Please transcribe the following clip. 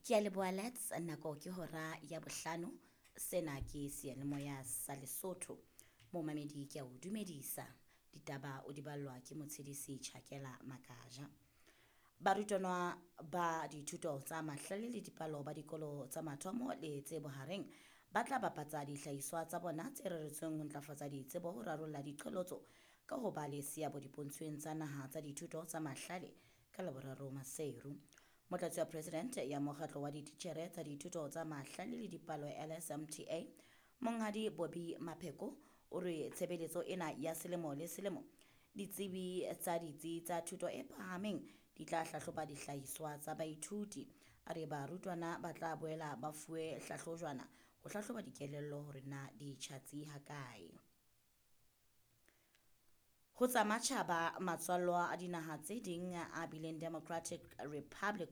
Ke a leboha Lets, nako ke hora ya bohlano. Sena ke seyalemoya sa Lesotho. Momamedi ke a o dumedisa. Ditaba o di ballwa ke motshedisi Chakela Makaja. Barutwana ba dithuto tsa mahlale le dipalo ba dikolo tsa mathomo le tse bohareng ba tla bapatsa dihlahiswa tsa bona tse reretsweng ho ntlafatsa ditsebo ho rarolla diqholotso ka ho ba le seabo dipontshweng tsa naha tsa dithuto tsa mahlale ka Laboraro Maseru. Motlatsi wa President ya mokgatlo wa dititjhere tsa dithuto tsa mahlale le dipalo LSMTA, Monghadi Bobby Mapheko o re tshebeletso ena ya selemo le selemo ditsebi tsa ditsi tsa thuto e phahameng di tla hlahloba dihlahiswa tsa baithuti. A re barutwana ba tla boela ba fuwe hlahlojwana ho hlahloba dikelello hore na di tjhatsi hakae. Ho tsa matjhaba, matswallwa a dinaha tse ding a bileng Democratic Republic